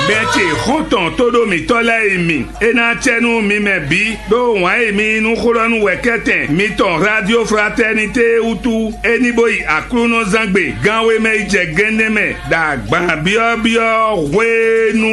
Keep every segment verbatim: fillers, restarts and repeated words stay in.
Bɛn ce xɔ́ntɔn tóɖó mǐtɔn lɛ́ɛ e mi, é ná acɛ nú mi mɛ bǐ, ɖó wǎn e mi yí nú xó ɖɔ nú wɛ̌kɛ́tɛn mitɔn Radio Fraternité wútu, é ní bó yi Aklúnɔzángbe gánwé mɛ yi jɛ gɛ́nnɛ́ mɛ ɖo agban byɔ́byɔ́ hwenu.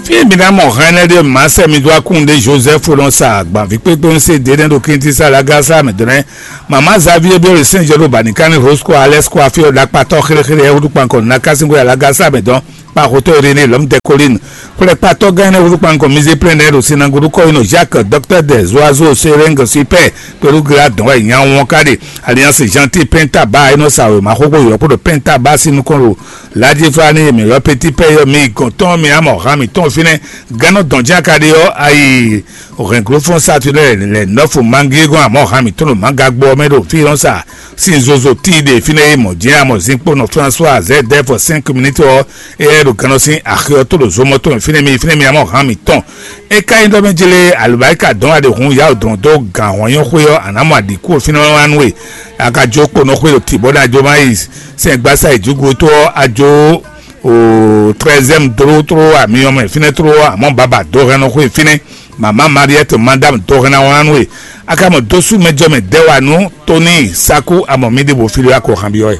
Fí mi ná mɔ hɛn ɛnɛ ɖé mǎ sɛ mi dó akún ɖé Joseph nɔ sa agbanví kpékpé ń se ɖě nɛ́ ɖo Kintísá Lagásá mɛ dɔ́ nɛ́. Mama Xavier Biore Saint Jean ɖo Banikan ní Rosco Alès kó afí ɔ́ ɖakpatɔ́ xéléxélé ɛ́ húdú kpankɔ ná kásínkó Lagásá mɛ dɔ́n kpa xotɔ́ Irénée Lɔmdɛ Colline. Xwlɛkpatɔ́ gán énɛ́ húdú kpankɔ Mizé Plɛ́n ɖo Sinaguru kɔ́ yi nɔ Jacques Docteur des Oiseaux Séreng Super kpelú Gla dɔn wɛ nya wɔn ká ɖe. Alliance Gentil Pɛntaba é nɔ sa wěma xóxó yɔ̌ kpó ɖo Pɛntaba sín nukɔn ɖo Ladjiflani mǐ ylɔ́ Petit Pɛ ɔ́, mi gɔn tɔn mi amɔ han mǐtɔn fínɛ́. Gannɔ dɔn jɛ́n a ka ɖe ɔ́, ayi hɛnglófɔ́n Saturnin lɛ nɔ́fu Mangíegɔn amɔ han mǐtɔn ɖo Mangagbo ɔ́ mɛ ɖo fí nɔ sa sín zozo tíi ɖe fínɛ́ e mɔ̌ jɛ́n amɔ zinkpo nɔ François Zɛdɛ́f cinq minutes ɔ́, éyɛ́ ɖo gannɔ sín axi ɔ́ tó ɖo zomɔ tɔn fínɛ́ mi fínɛ́ mi amɔ han mǐtɔn. É ka nyí ɖɔ mɛ jlé alǒbáríka dɔn aɖe hun yawó dɔn dó gǎn hɔn nyɔ́ xwé ɔ́, a nǎ mɔ aɖǐkú fínɛ́ wá nú we. A ka jó kponɔ xwé ɖo tǐ bɔ ná jó má yi sɛngbásá yi jǔgútó ɔ́, a jó o treizième dro tro ami ɔmɛ fínɛ́ tro ɔ́, amɔ̌ baba dó hɛn nɔ xwé fínɛ́. Mama Mariette madame dó hɛn ná wá nú we. A ka mɔ dósú mɛ jɔ mɛ dɛ́ wa nú Tony Saku amɔ mi ɖe bo fí ɖó akɔ han byɔ́ ɛ.